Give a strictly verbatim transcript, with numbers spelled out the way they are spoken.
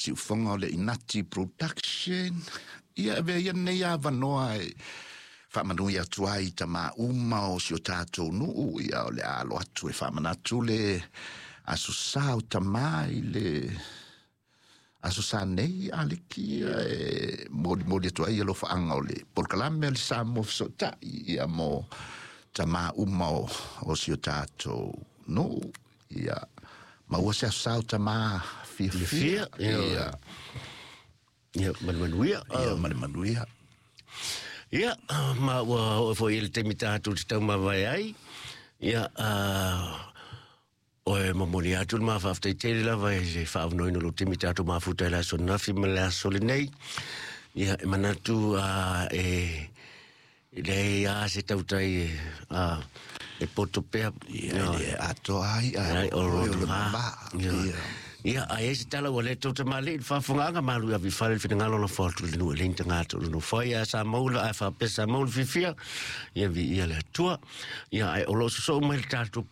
Siufoga o le Inati Production. Ia avea ia lenei avanoa e faamanui atu ai i tamā uma o si o tatou nuu. Ia o le a alo atu e faamanatu le aso sa o tamā i le aso sa nei aliki e molimoli atu ai alofaaga o le polokalame a le Samoa Fesootai ia mo tamā uma o, o si o tatou nuu. Ia maua se aso sa o tamā fiafia. Fiafia, ia ia ma le manuia. Ia ma le manuia. Ia, ma ua oo foi i le taimi tatou te taumavae ai. Ia, o e momoli atu le mafaafetai tele lava i le faaavanoaina o lou taimi tatou mafuta i le aso ananafi ma le aso lenei. Ia, e manatu e leai lava se tautai e poto pea. Ia e le atoa ai ai a o o lona le va. va. Ia. Ia. Ia, a i ai se tala ua le tou tamalii i le faafofogaaga malu i ave i fale le finagalo o lafo atu i le nuu e leai ni tagata o le nofo ai ae sa maua ae faapea sa maua le fiafia. Ia, viia le Atua. Ia, ae o loo sosoo mai le tatou